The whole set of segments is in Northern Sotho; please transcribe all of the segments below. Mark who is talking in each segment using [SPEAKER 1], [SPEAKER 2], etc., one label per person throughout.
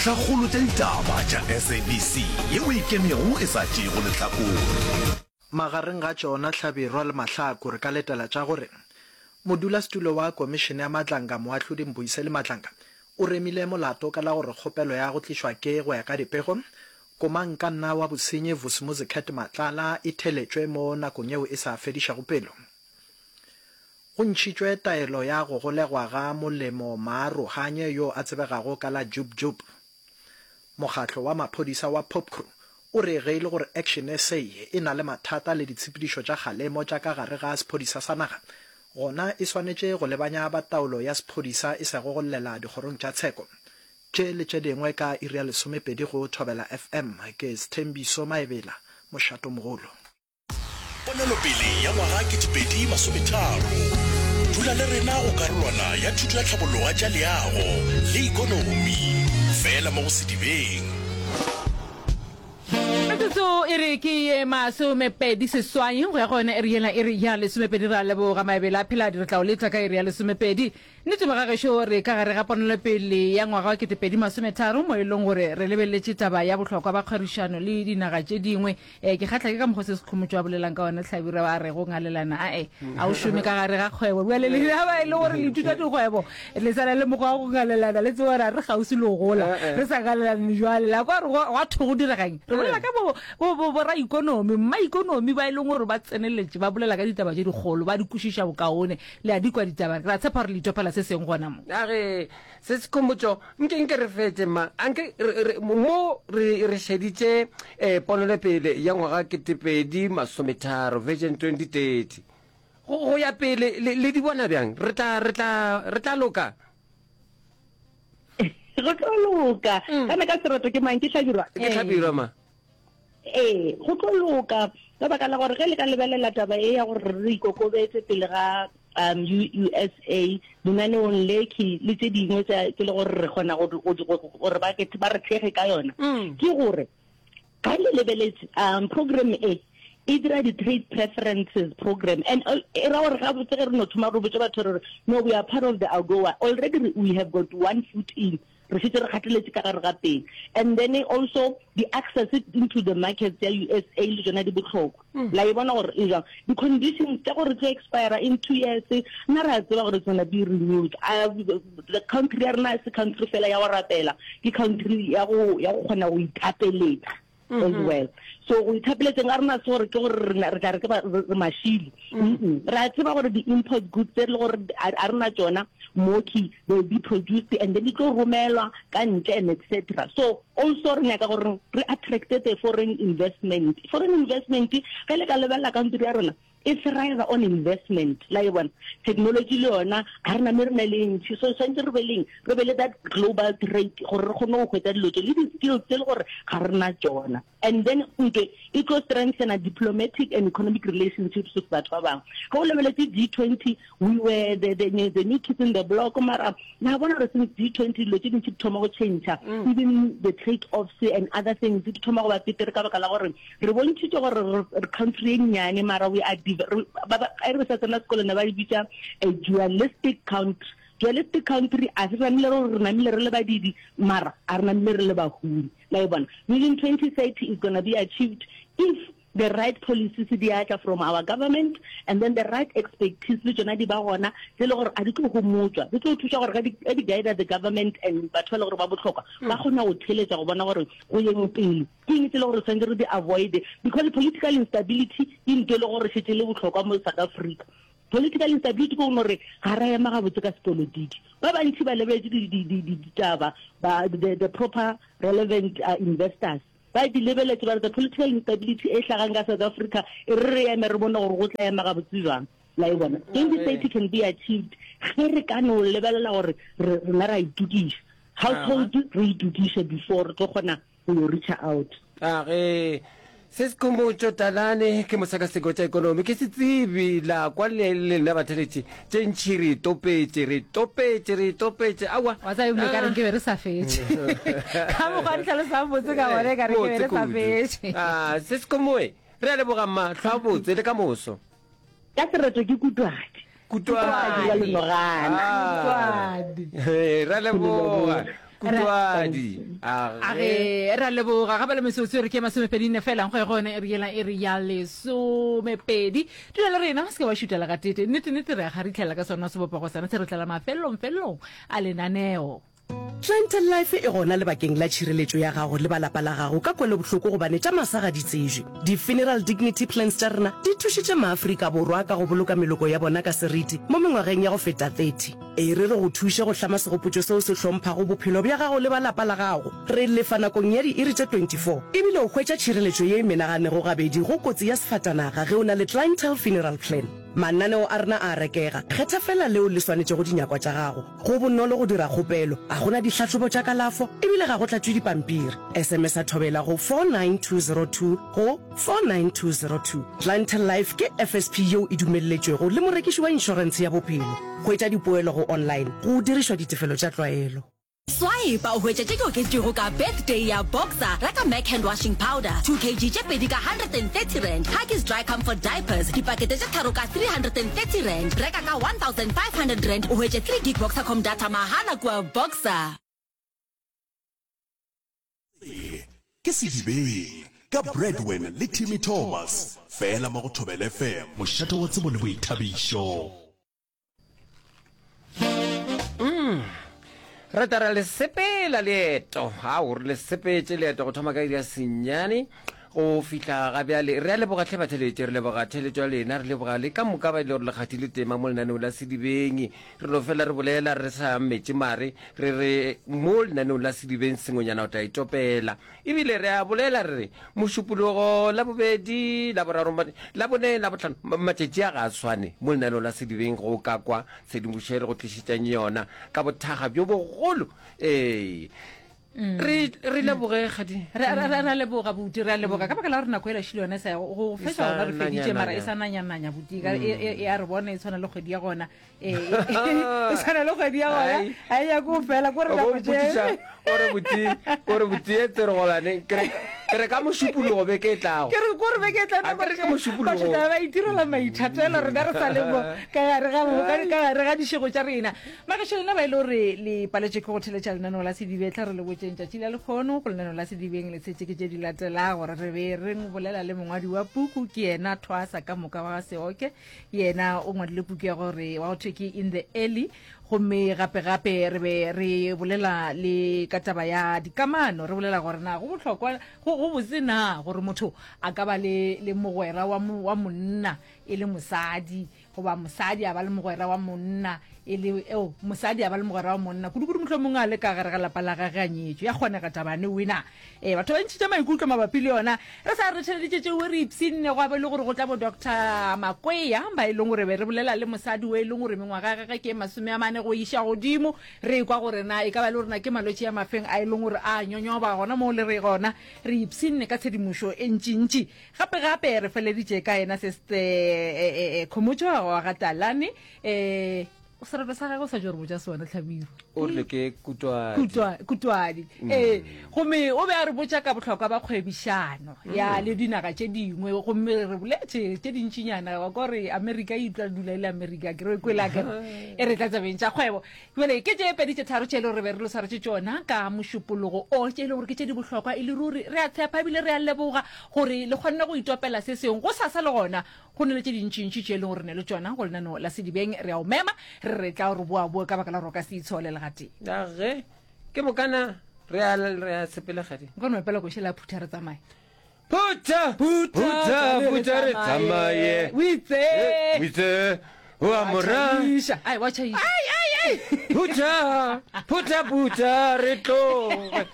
[SPEAKER 1] Dintlhakgolo tša ditaba tša SABC yeo e ikemego e sa tšeego lehlakore.
[SPEAKER 2] Magareng ga tšona Hlabirwa le Mahlaku re ka letela tša gore Modulasetulo wa Komišene ya Madlanga Moahlodi Mbuyiseli Madlanga o remile molato ka la gore kgopelo ya go tlišwa ke go ya ka dipego Komangkanna wa bosenyi Vusimuzi Cat Matlala e theletšwe mo nakong yeo e sa fedišego pelo. Go ntšhitšwe taelo ya go golegwa ga Molemo Maarohanye yo a tsebegago ka la Jub Jub. Mokgatlo wa maphodisa wa Popcru o re ge e le gore Action SA e na le mathata le ditshepedišo tša kgalemo tša ka gare ga sephodisa sa naga, gona e swanetše go lebanya ba taolo ya sephodisa e sego go llela dikgorong tša tsheko. Tše le tše dingwe ka iri ya lesomepedi go Thobela FM. Ke Sthembiso Maebela, Mošatomogolo.
[SPEAKER 1] Ponelopele ya ngwaga 2030. Dula le rena go karolwana ya thuto ya tlhabollo tša leago le ikonomi, fela mo go Sedibeng.
[SPEAKER 3] Metsotso e re ke ye masomepedi seswai go ya go yona iri yela iri ya lesomepedi. Re a leboga Maebele a Pheladi, re tla o leta ka iri ya lesomepedi. Nnete magagešo, re ka gare ga ponelopele ya ngwaga wa 2030 mo e leng gore re lebeletše taba ya bohlokwa ba kgwerišano le dinaga tše dingwe. E, ke kgahla ke ka mokgwa se Sekhomotšo a bolelang ka ona Hlabirwa a re go ngalelana ae a o šome ka gare ga kgwebo. Bjale le ba e le gore le ithuta dikgwebo le sa na le mokgwa wa go ngalelana le tsebe gore a re kgauswi le go gola re sa ngalelane jwale la kwa gore gwa thwe go direga eng. Re bolela ka bo, bo, bo, boraikonomi, mmaikonomi ba e leng gore ba tseneletše ba bolela ka ditaba tše dikgolo ba di kwešiša bokaone. Le a di kwa ditaba, re a tshepa gore le itopela se sengwe gona mo.
[SPEAKER 4] A re, Se Sekhomotšo, nke, nke re fetše, mma. A nke re, re, mo re, re šeditše eh, ponelopele ya ngwaga ketepedi masometharo, Vision 2030. Go, go ya pele, le, le di bona bjang? Re tla, re tla, re tla loka?
[SPEAKER 5] Go tlo loka. Kana ka sereto ke mang? Ke Hlabirwa?
[SPEAKER 4] Ke Hlabirwa, ma.
[SPEAKER 5] Ee, go tlo loka ka baka la gore ge le ka lebelela taba e ya gore re ikokobetse pele ga um USA lenaneong le ke le tše dingwe tša ke le gore re kgona gore ba ba re thege ka yona mm. ke gore ga le lebeletse um program e e dira di-trade preferences program and uh, e ra gore gabotse ge re no thoma re botse batho re no we are part of the agoa already we have got one foot in Re šetše re gateletše ka gare ga teng. And then also di access into the markets ya USA le tšona di bohlokwa. Mm. La e bona gore e jang. Di conditions tša gore tlo expire in 2 years, nna re a tseba gore it's gonna be renewed. Uh, the country ya rena se country fela ya go rapela, ke country ya go ya go kgona go ithapeletsa. Mm -hmm. as well so go ithapeletseng a rena se gore ke gore re tla re ke re mashilo mm -mm. re a tseba gore di-import goods tse le gore a rena tsona moki they will be produced and then di tlo romelwa ka ntle and etc so also re nyaka gore re attracte the foreign investment foreign investment ge le ka lebelela country ya rona E thrive on investment, la e bona. Technology le yona ga re name re na le e ntši, so swantse re be leng, re be le that global trade gore re kgone go hwetsa dilo tse le di-skills tse le gore ga re na tsona. And then ntwe e tlo strengthena diplomatic and economic relationships with batho ba bangwe. Ge o lebeletse G20, we were the, the, the new kids in the block, mara la bona gore since G20 dilo tse dintši di thoma go change, mm. even the trade offs and other things di thoma go ba petere ka baka la gore Re bontšhitše gore re country e nnyane mara we are ba re sa tsena sekolo ne ba e bitša a dualistic country. Dualistic country a se namile re re namile re le badidi mara a re namile re le bahumi. La e bona? Vision 2030 is gonna be achieved if the right policies di atla from our government and then the right expertise le tšona di ba gona tse le gore a di tlo homotšwa di tlo thuša gore ga di guide the government and batho ba le gore ba bohlokwa ba kgona go theletša go bona gore go yeng pele Ke eng tse le gore re tshwanetse re di avoid because political instability ke ntho e le gore šetse le bohlokwa mo South Africa. Political instability ke go re ga ra ema gabotse ka sepolotiki. Ba bantši ba lebeletse ditaba ba the, the proper relevant uh, investors ba di lebeletse ba re the political instability e hlagang ka South Africa e re re eme re bone gore go tla ema gabotse jwang. La e bona 2030 can be achieved ge re ka no lebelela gore rena ra itokiša household re itokiše before re tlo kgona go yo reacha out.
[SPEAKER 4] A ge se Sekhomotšo Talane ke mosekaseki wa tša ekonomi, ke setsebi la kwa le lena batheletši tše ntši re itopetše, re itopetše, re itopetše, aowa.
[SPEAKER 3] Wa tseba ebile ka re nke be re sa fetše. Ka mokgwa di tlhalosang botse ka gona e ka re nke be re sa fetše.
[SPEAKER 4] A se Sekhomoe, re a leboga mma, hlwa botse le ka moso.
[SPEAKER 5] Ka sereto ke Kutwadi.
[SPEAKER 4] Kutwadi
[SPEAKER 5] wa lenogana.
[SPEAKER 4] Kutwadi. Re a leboga. Kutwadi.
[SPEAKER 3] A ge ra leboga gape le metsotso re ke masomepedi nne fela go ya go yone e re yela e re ya lesomepedi. Dula le rena o se ke wa šutela gatete. Nnete nnete re a kgaritlhela ka sona sebopego sona se re tlela mafelelong felelong a lenaneo.
[SPEAKER 6] Clientele Life e gona lebakeng la tšhireletšo ya gago le ba lapa la gago ka kwelobohloko gobane tša masa ga di tsejwe. Di-Funeral Dignity Plans tša rena di thušitše maAfrika Borwa ka go boloka meloko ya bona ka seriti mo mengwageng ya go feta 30. E re re go thuše go hlama segopotšo seo se hlomphago bophelo bja gago le ba lapa la gago. Re lefa nakong ya diiri tše 24 ebile o hwetša tšhireletšo ye e menaganego gabedi go kotsi ya sefatanaga ge o na le Clientele Funeral Plan. Mananeo a rena a a rekega, kgetha feela leo le swanetšego dinyakwa tša gago. Go bonolo go dira kgopelo, ga go na dihlahlobo tša kalafo ebile ga go tlatšwe dipampiri. SMS-a Thobela go 49202 go 49202. Clientele Life ke FSP yeo e dumelletšwego le morekiši wa inšorentshe ya bophelo. Hwetša dipoelo go online go dirišwa ditefelo tša tlwaelo.
[SPEAKER 7] Swipe o hwetše tše di oketšwego ka Birthday ya Boxer. Reka Mac Hand Washing Powder 2 kg tše pedi ka R130, Huggies Dry Comfort Diapers dipakete tše tharo ka R330. Reka ka R1500 o hwetše 3 gig Boxercom data mahala kua Boxer.
[SPEAKER 1] Se ke Sedibeng ka Bradwin le Timmy Thomas, fela mo go Thobela FM, mošate wa tsebo le boithabišo.
[SPEAKER 4] Mm. Re tla re le sepela leeto. Ao, re le sepetše leeto go thoma ka iri ya senyane go fihla ga bjale. Re a leboga hle batheletši, re leboga theletšo ya lena, re leboga le ka moka ba e le gore le kgathile tema mo lenaneong la Sedibeng. Re no fela re bolela re sa metše mare, re re mo lenaneong la Sedibeng sengwenyana o tla itopela. Ebile re a bolela re re Mošupologo, Labobedi, Laboraro, Labone, Labohlano, matšatši a ga a swane mo lenaneong la Sedibeng go ka kwa tshedimošo e re go tlišetšang yona ka bothaga bjo bogolo. Ee, re re leboge kgadi.
[SPEAKER 3] Re re re a leboga buti, re a leboga ka baka la gore nako e lašile yona e sa ya go go
[SPEAKER 4] E
[SPEAKER 3] fetša
[SPEAKER 4] sa
[SPEAKER 3] gona re feditše mara e
[SPEAKER 4] nanya-nanya.
[SPEAKER 3] sa nanya-nanya buti, e e e a re bona e tshwana le kgwedi ya gona. Ee, e tshwana le kgwedi ya gona
[SPEAKER 4] Ai.
[SPEAKER 3] ga e nyake go fela ko re
[SPEAKER 4] O bo
[SPEAKER 3] nako
[SPEAKER 4] mpotšiša
[SPEAKER 3] tše
[SPEAKER 4] o re botse o re botse e tsere golane ke re ke re ka mošupologo beke e tlago
[SPEAKER 3] ke re ko re beke e tla
[SPEAKER 4] A ke re ke mošupologo.
[SPEAKER 3] batho tla ba itirela maithatelo rena re sa le mo ka gare ga ka gare ga dišego tša rena magašo lena ba e le gore le paletše ke go theletša lenaneo la sedibe tla re le botšeng tšatši la lekgono go lenaneo la sedibeng le tshetše ke tše di latelago gore re be re bolela le mongwadi wa puku ke yena thwasa ka moka wa ga seoke Yena o ngwadile puku ya gore wa go thwe ke In the Early. Gomme gape gape re be re bolela le ka taba ya dikamano, re bolela gore na go bohlokwa, go, go botse na gore motho a ka ba le, le mogwera wa, wa monna e le mosadi, goba mosadi a ba le mogwera wa monna e le, eo, mosadi a ba le mogwera wa monna, kudu-kudu mohlomongwe a le ka gare ga lapa la gage a nyetšwe. Ya kgonega taba ne wena. Ee, batho ba ntšhitše maikutlo mabapi le yona. Re sa re theleditše tšeo re ipshinne gwa be e le gore go tla bo Doctor Makwea ba e leng gore be re bolela le mosadi o e leng gore mengwaga ya gagwe ke e masomeamane go iša godimo. Re ekwa gore na e ka ba e le gore na ke malwetši a mafeng a e leng gore a nyonyoba gona moo le re gona. Re ipshinne ka tshedimošo e ntšintši. Gape gape re feleditše ka yena Seste Khomotšo wa ga Talane. Eh, sereto sa gagwe o sa tšo re botša sona Hlabirwa.
[SPEAKER 4] O rile ke Kutwadi.
[SPEAKER 3] Kutwa, Kutwadi. Mm. Ee, gomme o be a re botša ka bohlokwa ba kgwebišano mm. ya le dinaga tše dingwe gomme re boletše tše dintšinyana wa ko re Amerika e utlwa dula e le Amerika ke re kwela ke e re tla tsabeng tša kgwebo. Jale ke tše pedi tše tharo tše e le gore re be re lo swaretše tšona ka mošupologo o tše e le gore ke tše di bohlokwa e le ruri re a tshepa ebile re a leboga gore le kgonne go itopela se sengwe go sasa le gona Go na le tše dintšintši tše e leng gore re ne le tšona go lenaneo la Sedibeng. Re a o mema, re re tla o re boaboe ka baka la gore o ka se itshole le gatee.
[SPEAKER 4] A ge, ke mokana re a, re a sepela kgadi.
[SPEAKER 3] Nka no epela koše la phutha re tsamaye.
[SPEAKER 4] Phutha, phutha, phutha re tsamaye.
[SPEAKER 3] O itse.
[SPEAKER 4] O itse, o a mo ra.
[SPEAKER 3] Ai, wa tšhaiša. Ai, ai, ai.
[SPEAKER 4] Phutha, phutha, phutha re tloge.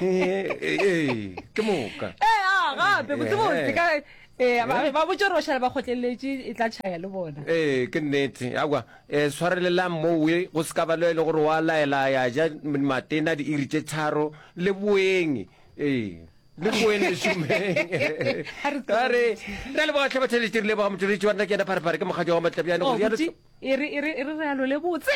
[SPEAKER 4] Ee, ke moka.
[SPEAKER 3] Ee, a gape, botse botse ka Ee, ba ba botše gore ba šale ba kgotleletše, e tla tšhaya le bona.
[SPEAKER 4] Ee, ke nnete. Aowa, um swarelelang mowe, go se ka ba le e le gore wa laela ya ja matena diiri tše tharo, le boeng. Ee, le boeng le šomeng.
[SPEAKER 3] A re
[SPEAKER 4] A re, re a leboga hle batheeletši, re leboga motšweletši wa rena ke yena Pharephare, ke mokgadi wa Matlabjane,
[SPEAKER 3] Oh,
[SPEAKER 4] go rialo.
[SPEAKER 3] buti. E re, e re, e re re alole botse.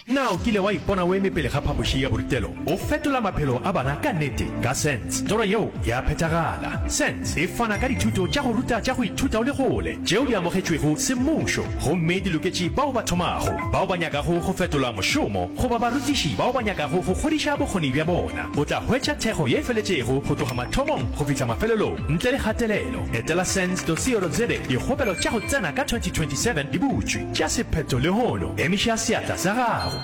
[SPEAKER 8] Na o kile wa ipona o eme pele ga phapoši ya borutelo o fetola maphelo a bana ka nnete? Ka SENS, toro yeo ya phethagala. SENS e fana ka dithuto tša go ruta tša go ithuta o le kgole tšeo di amogetšwego semmušo gomme di loketše bao ba thomago, bao ba nyakago go fetola mošomo goba barutiši bao ba nyakago go godiša bokgoni bja bona. O tla hwetša thekgo ye e feletšego go tloga mathomong go fihla mafelelong ntle le kgatelelo. Etela sens.co.za Dikgopelo tša go tsena ka 2027 di butšwe. Tšea sephetho lehono. Emiša seatla sa gago.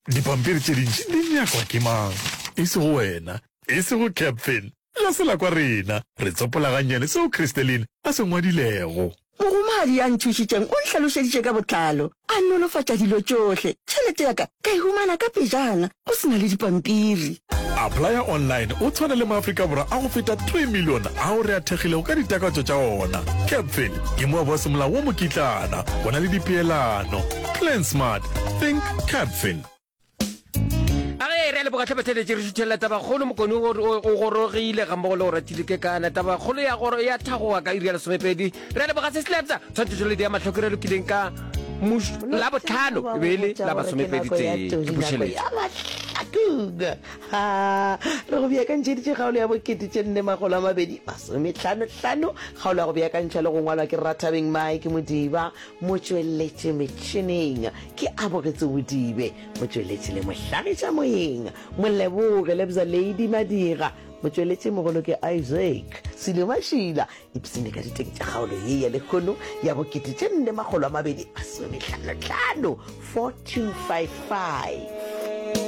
[SPEAKER 9] Dipampiri tše dintši di nyakwa ke mang? E sego wena, e sego Captain. La se la kwa rena. Re tsopola gannyane seo Christeline a se ngwadilego.
[SPEAKER 10] Mogomadi ya nthušitšeng o nhlalošeditše ka botlalo, a nolofatša dilo tšohle. Tšhelete ya ka ka e humana ka pejana, go se na le dipampiri.
[SPEAKER 9] Applya online o tshwane le maAfrika Borwa a go feta 3 milione ao re a thekgilego ka ditakatso tša ona. Capfin ke moabi wa semolao wo mokitlana, go na le dipeelano. Plan smart, think Capfin.
[SPEAKER 4] A ge re a leboga tlhe batheletše re šuthelela tabakgolo mokone o o gorogile ga mmogo le go ratile ke kana tabakgolo ya goro ya thagoga ka iri ya lesomepedi re a leboga se slabsa tshwantšhetšo ya mahloko re lokileng ka la botlhano e be e le la masomepedi tee ke bušeletšo
[SPEAKER 6] Ha, re go beakantšheditše kgaolo ya bokete tše nne makgolo a mabedi masomehlanohlano kgaolo ya go beakantšhwa le go ngwalwa ke Rathabeng Mike Modiba Motšweletši metšhineng ke Abogetse Bodibe, motšweletši le mohlagiša moyeng Moleboge Lebza Lady Madira, motšweletši mogolo ke Isaac Silo Mašila. Ipsene ka diteng tša kgaolo ye ya lehono ya bokete tše nne makgolo a mabedi masomehlanohlano, 4255.